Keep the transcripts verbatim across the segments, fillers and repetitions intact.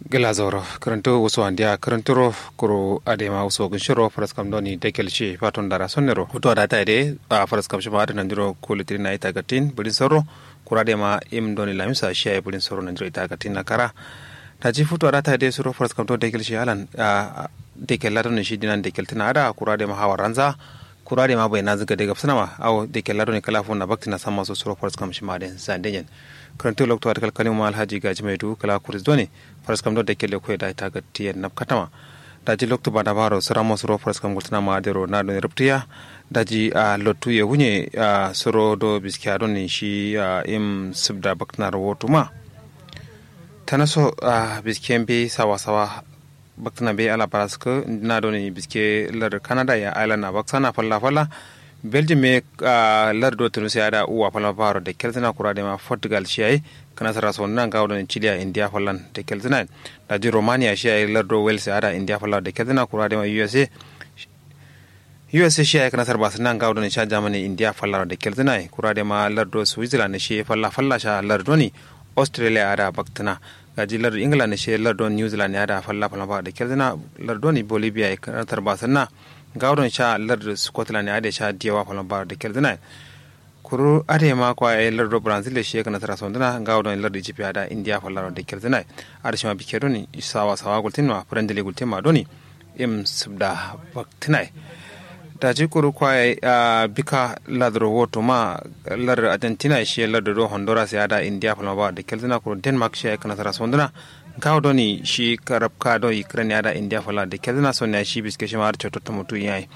Gla zauro kǝrǝntu wuso andiya kǝrǝnturo kuru adema wuso gǝnshiro faraskam doni dakel shi faton dara sonnero futuwa da tayi de. A faraskam shima adǝ nandiro kulu tǝrina ita gattin bǝrin soro kuru adema im doni lamisa shi yayi bǝrin soro nandiro ita gattin na kara. Daji futuwa da tayi de suro faraskam do dakel shi alan dakel la doni shi dinan dakel tǝna ada kuru adema hawar ranza. Kuru adema bai nanzǝ gade gabsǝna ma awo dakel la doni kala fun na baktina samma so suro faraskam shima adǝ sande nyen. Kǝrǝntu loktu adǝ kalkalin ma alhaji gaji mai du kala kuris doni faraskam do dakel le koye da ita gattin yen nabkatama. Daji loktu bada baro sǝramo suro faraskam gultǝna ma adero na doni rubtiya. Daji a lottu ye wunye a suro do biskiya doni shi a im sibda baktina ro wotu ma. Tana so a biskiyen be sawa sawa baktina be ala baraskǝ na doni biske lar kanada ya island na baksana falla falla. Belgium ye lar do tunisia ada uwa falla baro dakel zǝna kuru adema portugal shi yayi. Kǝna sara sonduna ngawo doni chile ya india fallan dakel zǝna. Daji romania shi yayi lar do wales ada india falla dakel zǝna kuru adema usa. Usa shi yayi kǝna sara basǝna ngawo doni sha germany india falla dakel zǝna kuru adema lar do switzerland shi falla falla sha lar doni australia ada baktǝna. Daji lar england shi lar doni new zealand ada falla falla ba dakel zǝna. Lar doni bolivia kǝna sara basǝna ngawo doni sha lar scotland ada sha diyawa falla ba dakel zǝna. Kuru adǝ ye ma kwa yayi lardo brazil ye shi ye kǝna sara sonduna ngawo doni lardo egypt ye ada india fallaro dakel zǝna ye. Adǝ shima bikke doni sawa sawa gultin ma friendly gultin ma doni im sibda baktǝna ye. Daji kuru kwa yayi bika ladro woto ma lardo argentina ye shi ye lardo do honduras ye ada india fallaro ba dakel zǝna kuru denmark shi yayi kǝna sara sonduna. Ngawo doni shi karabka do ukraine ye ada india fallaro dakel zǝna sonne yayi shi biske shima adǝ cototto mutu yayi.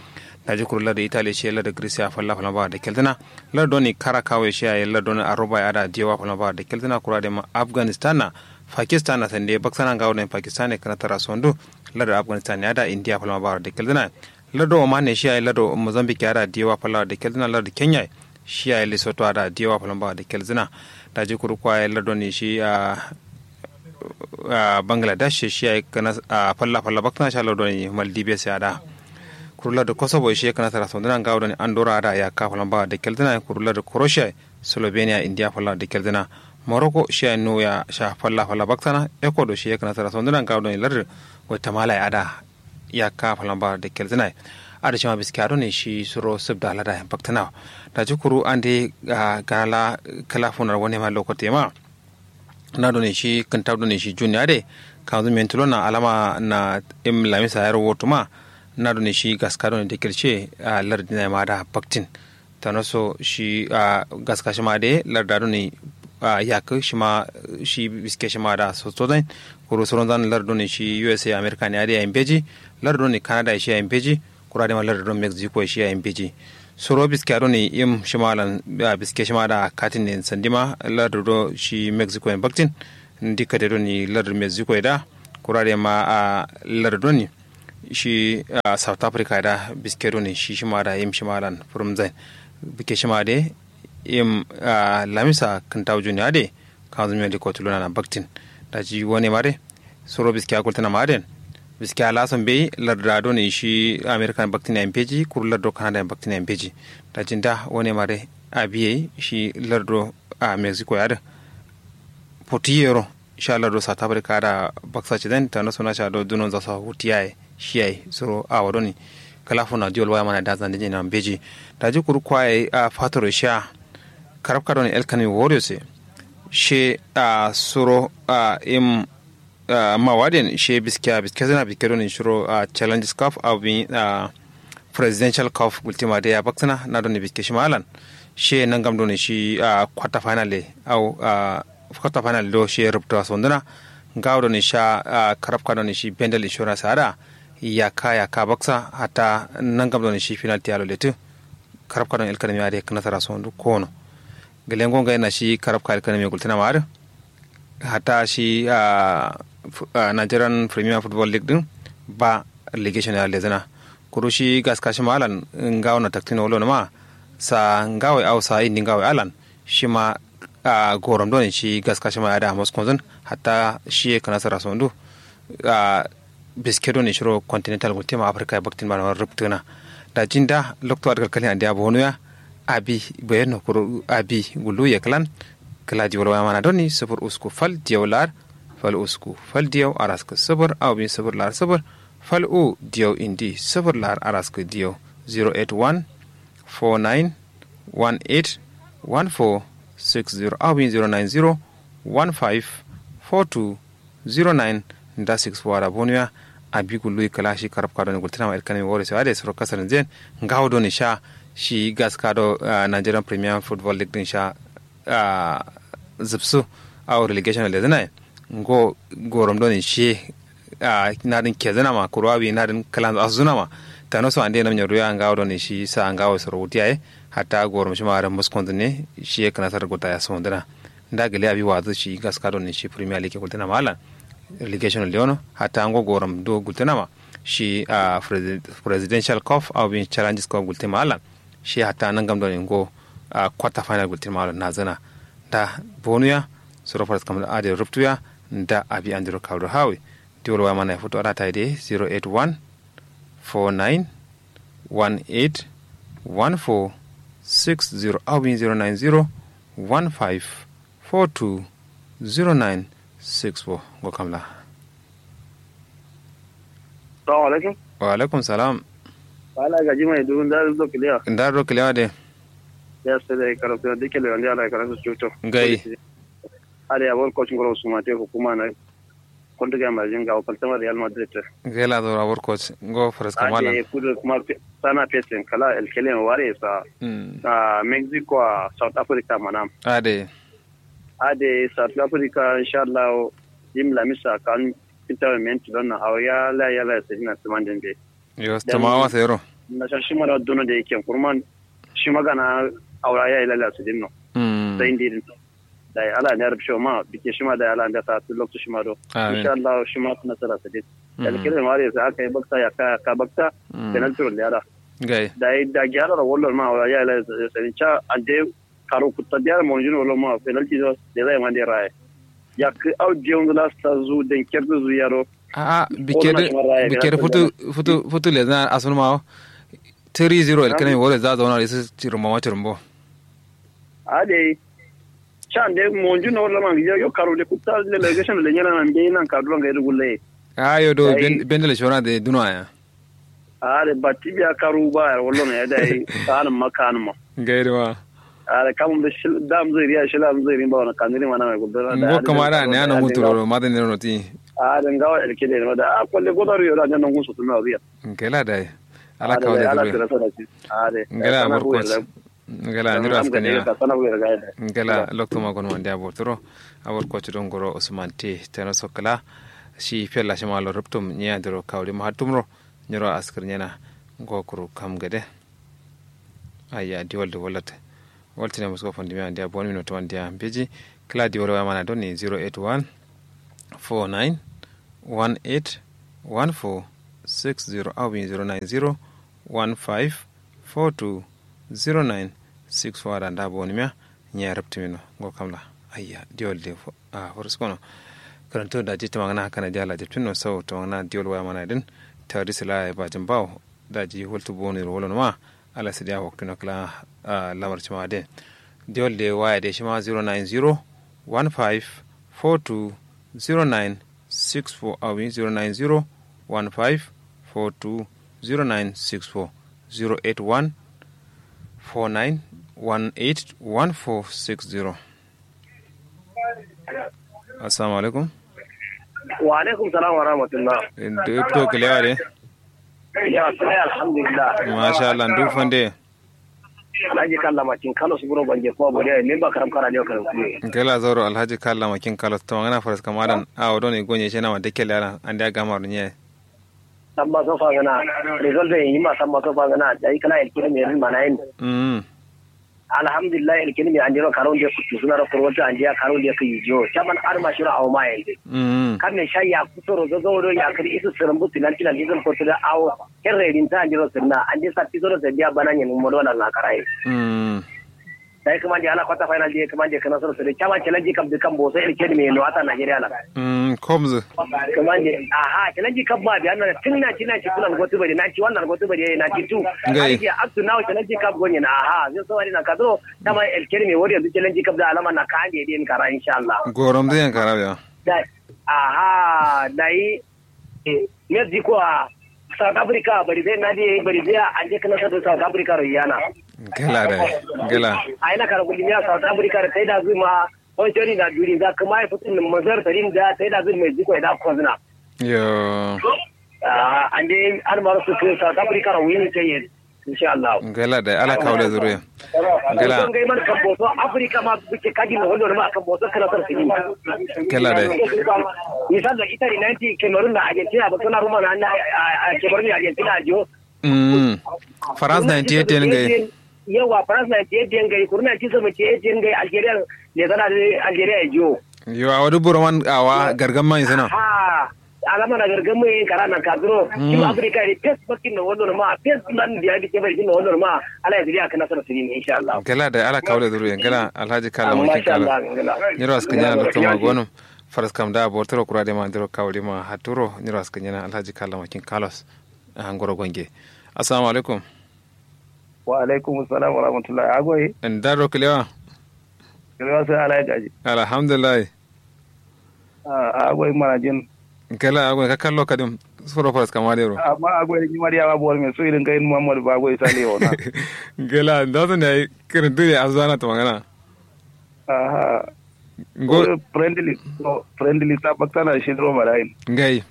Daji kuru lardo italy ye shi ye lardo greece ye falla fallaro ba dakel zǝna. Lar doni kara kawe shi yayi lar doni aroba ye ada diyewa falla ba dakel zǝna kuru adema afghanistan na pakistan na sande baksana ngawo doni pakistan ye kǝna tara sondu. Lar do afghanistan ye ada india falla ba dakel zǝna. Lar do oman ye shi yayi lar do mozambique ye ada diyewa falla dakel zǝna lar do kenya ye shi yayi lesotho ada diyewa falla ba dakel zǝna. Daji kuru kwa yayi lar doni shi a bangladesh ye shi yayi kǝna falla falla baksana sha lar doni maldives ye ada. Kuru lar do kosovo ye shi yayi kǝna tara sonduna ngawo doni andorra ada yakka falla ba dakel zǝna kuru lar do croatia ye slovenia india falla dakel zǝna. Morocco shi yayi nuwu ya sha falla falla baksana ecuador shi yayi kǝna tara sonduna ngawo doni lar do guatemala ye ada yakka falla ba dakel zǝna ye. Adǝ shima biskiya doni shi suro sibda lada ye baktǝna wo. Daji kuru ande gana la kǝla funar wane ma lokote ma. Na done shi kǝnta done shi jun ya de kanzu mentulona alama na im lamisa yaro wotu ma. Na done shi gaska done dekil she a lardina ma da baktin. Tano so shi a gaska shima de larda done a yakǝ shima shi biske shima da soso zain. Kuru soron zan lar done shi usa america ne ya de ya imbeji. Lar done canada shi ya imbeji. Kura dema lar done mexico shi ya imbeji. Soro biske done im shima lan biske shima da katin ne sandima lar do shi mexico en baktin. Ndi kate done lar mexico da kura dema a lar done shi south africa da biske done shi shima da im shima lan furum zain. Biske shima de im lamisa kǝntawu juniya de kanzu miyo de kotuluna na baktin. Daji wane mare soro biskiya gultǝna ma aden. Biskiya laso mbeyi larda done shi america baktin ya mbeji kuru lardo canada baktin ya mbeji. Daji nda wane mare abiye shi lardo a mexico ya dǝ. Putu yero sha lardo south africa da baksa ciden tano sona sha do dunon zaso hutu yaye. Shi yayi soro awo doni kala funa diwol waya mana da zande jina mbeji. Daji kuru kwa yayi a fatoro sha karabka doni elkanmi warriors ye she a soro a im mawaden she biskiya biske zina biske doni shiro a challenges cup a bi a presidential cup gultima de ya baksana na doni biske shima alan. She nangam doni shi a quarter final de au a quarter final do she rubta sonduna. Ngawo doni sha a karabka doni shi bendel insurance ada yakka yakka baksa hatta nangam doni shi penalty alo letu. Karabka doni elkanmi ade kǝnasara sondu kono. Gǝlengo ngai na shi karabka elkanmi gultǝna ma adǝ. Hatta shi a nigerian premier football league dǝn ba relegation ya lezǝna. Kuru shi gaska shima alan ngawo na taktino wolo numa sa ngawo ye au sa indi ngawo ye alan shima a gorom done shi gaska shima ya da moskonzǝn. Hatta shi ye kǝnasara sondu a biske done shiro continental gultǝma africa ye baktin ba numa rubtǝna. Daji nda loktu adǝ kalkalin andiya bonuya abi bayenno kuru abi gullu ye kǝlan. Kǝla diwol waya mana done sufur usku fal diyau lar fal usku fal diyau araskǝ sǝfǝr awo bin sǝfǝr lar sǝfǝr fal u diyau indi sǝfǝr lar araskǝ diyau. Zero eight one four nine one eight one four six zero awo bin zero nine zero one five four two zero nine nda six four ara bonuya. Abi gulluyi kǝla shi karab kadoni gultǝnama ilkanami wore so ade suro kasarǝnzen ngawo doni sha shi gaska do. Nigerian premier football league din sha zǝbsu awo relegation lezǝnaye ngo gorom doni shiye. Nadǝn kezǝnama kuru awi nadǝn kǝlanzǝ asuzǝnama tanoso ande namnyo ruya ngawo doni shi sa ngawo soro wutiyaye hatta gorom shima adǝ muskonzǝ ne shiye kǝnasar gota ya sondǝna. Nda gǝle abi wazǝ shi gaska doni shi premier league gultǝnama allan relegation leono hatta ngo gorom do gultǝnama shi presidential cup awo bin challenges cup gultǝnama allan shi hatta nangam doni ngo quarter final gultǝnama allan nazǝna. Nda bonuya suro faraskam adǝ ruptuya nda abi andiro kawdo hawi. Diwol waya mana ya futu ada tayi de zero eight one four nine one eight one four six zero awo bin zero nine zero one five four two zero nine six four. Ngo kamla. Salamu alaikum. Wa alaikum salam. Wala gaji mai dubu nda do kiliya nda do kiliya de. Ya sai da karo sai da kiliya nda ala karo su cuto. Ngai. Are abor coach ngoro suma te hukuma na. Kuntu ga majin ga kaltama real madrid. Ngai la do abor coach ngo faras kamala. Ade kudu kuma sana pesen kala el kelen ware sa. Mexico a south africa manam. Ade. Ade south africa inshallah. Jim lamisa kan fita men tudon na awya la ya la sai na tumanden be. Yo tamawa sayro. Na sha shima da duno da yake kurman shima gana aura ya ilala su dinno. Sai ndi din. Dai ala ne rubsho ma bike shima dai ala ne sa tu loktu shima do. Insha Allah shima kuna sara su din. Alkire ma re sa aka yi bakta ya ka ka bakta. Penalty ro yara. Gai. Dai da gyara ro wallo ma aura ya ilala su din cha ande karo kutta biyar monjin wallo ma penalty do da zai ma de raye. Yakki au diyonzu la sazu denkerdu zu yaro. A'a. Bikedi bikedi futu futu futu lezana asunuma wo. Tiri ziro elkenemi wore za zauna isu cirumbo ma cirumbo. Adai. Can de monju no lama ngiya yo karo de kutta delegation de nyana nan de nan kadura ngai rugulle. A'a yo do bendele shona de duno aya. Are batti biya karu ba yar wallo no ya dai. Kanum ma kanum ma. Ngai de ma. Are kamun da shil dam zai riya shil am zai rin ba wani kanuri mana mai gudura da ngo kamara ne ana ngun turoro ma da ne no ti. Are ngawa elke de no da a kwalle godaru yo da ne ngun su tuna riya. Ngela dai. Ala kawo da zuru. Are ngela amur coach. Ngela ni ras kanya. Ngela lokto ma gon wande abor turo. Abor coach don goro usman te tana sokala. Shi fella shi ma lo ruptum nya diro kawri ma hatumro. Nyiro askar nyana. Ngo kuru kam gade. Ayya diwal da wallat. Waltine musko fandimiya andiya boni mino to andiya beji. Kla diwal waya mana doni zero eight one four nine one eight one four six zero awin zero nine zero one five four two zero nine six four ada nda bonimiya. Nya rabtimino ngo kamla. Ayya diwal de. Foroskono. Karanto daji tamangana kana diya la jabtinno sau tamangana diwal waya mana din. Tawadi sila ya bajin bawo. Daji waltu boni ro wolo numa. Ala sidiya waktino kla. Lamar cima de. Diwal de waya de shima zero nine zero one five four two zero nine six four awi zero nine zero one five four two zero nine six four zero eight one four nine one eight one four six zero. Assalamu alaikum. Wa alaikum salam wa rahmatullah. Ndu fito kilewa de. Ya sai alhamdulillah. Masha Allah ndu fande. Alhaji kalla makin kalo su buro banje kuma bodiya ne ba karam kara ne karam kuye. Gela zoro alhaji kalla makin kalo to ngana faras kamadan a wodo ne gonye shena ma dekel yaran an da gamar ne. Samma so fa ngana result de yima samma so fa ngana dai kala el kire me rin manayin. Mm. Alhamdulillah el kire me andiro karon de kutu suna ro kurwata andiya karon de kuyi jo chaman arma shira awma yende. Mm. Kan ne sha ya kuto ro zo zo do ya kiri isu sirin bu penalty na dizon ko tuda awo. Kerre din ta andiro sirna andi sa piso do sai biya bana nyen mo do na karaye. Mm. Dai kuma ndi ala quarter final de kuma ndi kana soro sere chama challenge cup de kan bo sai el kedi me no ata nigeria la. Mm komzu. Kuma ndi aha challenge cup ma biya na tin na tin na ci kunan gotu bari na ci wannan gotu bari na ci tu. Ngai. Up to now challenge cup gonye na aha zai so wari na kadro. Dama el kedi me wori yanzu challenge cup da alama na kande din kara insha Allah. Gorom zai yan kara biya. Dai. Aha, dayi, mexico a, south africa bari zai nadi bari zai a ande kǝla sadu south africa ro yana. Ngela dai. Ngela. Ayi na kara gulli miya south africa ro tai da zuma. Oi tori na duri za kǝma ya fǝtǝ nǝm mazar tarin da tai da zuma mexico ya da kozna. Yo. Ande an maro sukku south africa ro wini tai yen. Insha allah. Ngela dai ala kawle zuru yen. Ngela. Ngai man kamboso africa ma buke kaji no hondo ma kamboso kala sar sini. Ngela dai. Misal da italy ninety cameroon na argentina ba suna ruma na cameroon na argentina jo. Mm. France ninety eight yen ngai. Yawa france ninety eight yen ngai kuruna ci seventy eight yen ngai algeria. Ne zana algeria jo. Yo awa duk buro man awa gargan man isana. Alama na gargamu yen kara nan kaduro. Tim africa de pes bakkin no wonno ma pes nan biya bi kebe jin no wonno ma. Ala ya zuriya kana sara sinin insha allah. Gala da ala kawle zuru yen gala alhaji kala makin kala. Nyiro askin yana lokto ma gonum. Faras kam da bortoro kura de ma ndiro kawli ma haturo nyiro askin yana alhaji kala makin kalos. Angoro gonge. Assalamu alaikum. Wa alaikum assalam wa rahmatullahi agoyi. Ndaro kilewa. Kilewa sai alhaji. Alhamdulillah. Agoi manajin. Kala agoi ka kallo kadim. Suro faras kama dero amma agoi ni mari ama bor me su irin kai muhammad ba agoi sale ona. Kala da su ne kirin dure azana to magana. Aha. Ngo friendly. Friendly ta baktana shi dro marain. Ngai.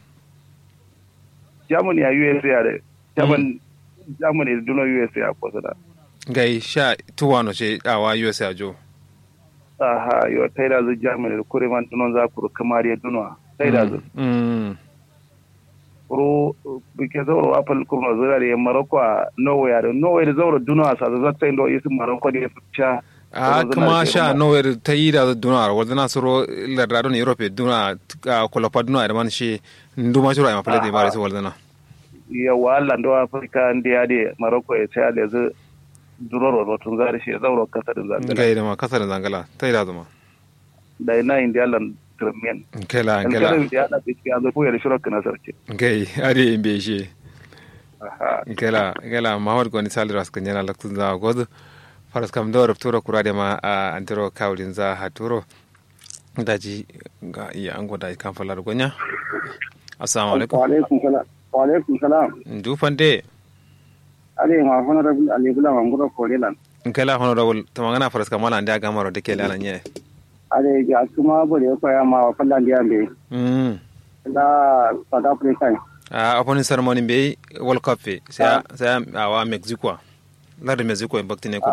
Germany a usa are. Germany. Germany duno usa a kosana. Ngai sha tuwano she awa usa jo. Aha yo taida zu germany da kure man dunon za kuru kamar ya dunuwa. Taida zu. Kuru bike zauro wa fal kurno zira da ya morocco a norway a da norway da zauro dunuwa sa zazza taida isu morocco da ya fice. A kuma sha norway da taida zu dunuwa wanda na suro lardadon europe dunuwa. Kolofa dunuwa da man shi nduma shiro a yi mafalai da ya mara isu wanda na. Yawa allah ndo africa ndi ade morocco e sai a lezu. Duroro rotun zari shi zauro kasa din zangala. Ngai da ma kasa din zangala tai da zuma. Da ina indi allah. Turmiyan. Kela kela. Indi allah biski an zo kuyar shiro kana sarki. Ngai ade imbe shi. Kela kela muhammad goni saliras kan yana laktun za gozu. Faras kam do rupturo kura de ma antiro kawlin za haturo. Daji ga iya ango daji kam falar gonya. Assalamu alaikum. Wa alaikum salam. Ndu fande. Ade ma honorable ali bula manguro korelan. Nkela honorable to mangana faras kamala ande agamaro de kele ala nye. Ade ga kuma bore ko ya ma wa fallan de ambe. Mm. La south africa. A opening ceremony be world cup fe sai sai awa mexico. Lar mexico en bakti ne ko.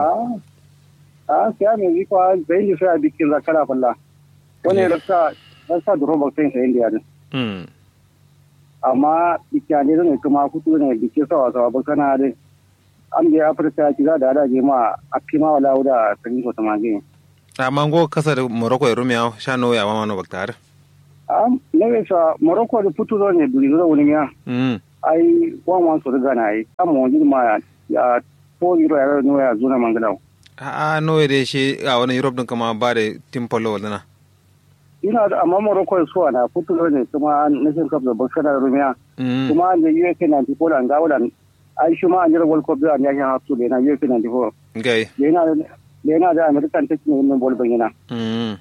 A sai mexico a bayin sai a bikin zakara falla. Wani rasa rasa duro bakti sai indiya din. Mm. Amma bikin ne zan kuma kutu ne bikin sawa sawa bakana din. Am da africa ki za da da je ma a fi ma wala wuda sanin ko tamage. Amma ngo kasa da morocco ya rumiya sha no ya mama no baktar. Am ne be sa morocco da futu zo ne duri zo wani miya. Mm. Ai wan wan so daga na ai amma wani ma ya. Ko iro ya no ya zuna mangala. A'a no ya dai shi a wani europe din kama ba da team polo wala na. Ina da amma morocco su ana futu ne kuma nation cup da bakana rumiya. Mm. Kuma an da usa ninety-four an ga wala. Ai shi ma an jira world cup da an yakin haftu da na usa ninety-four. Gai. Da yana da yana da american take ne min bol ban yana. Mm.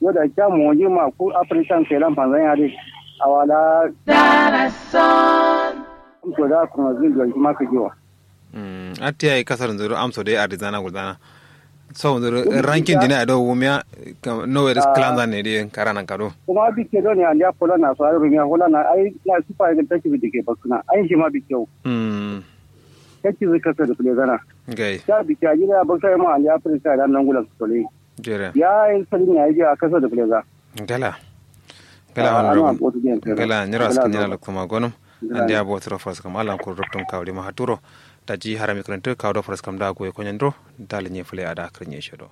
Yo da kya mo ji ma ku african sai lan fanzan ya dai. Awala. Darason. Ko da kuma zin don kuma ka jiwa. Mm, atti ai kasar nzuru amso dai arizana gulzana. So nzuru ranking dina do wumya. No we dis clan zan ne dai karana kado. Kuma bikke do ne an ya pola na so ai rumiya hola na ai na sifa ga take bi dike bakuna ai shi ma bikke. Mm. Take zai kasar da fule zana. Gai. Ta bikke a jira baksa ma an ya africa da nan gulan su tole. Jere. Ya yin salin ya yi a kasar da fule za. Gala. Gala wani rabu. Gala nyiro askin yana lokto ma gonum. Andi abo turo fas kam alan kur ruptum kawri ma haturo. Daji harami krantu kawdo fas kam da goy konyandro. Dal nye fule ada krinye shedo.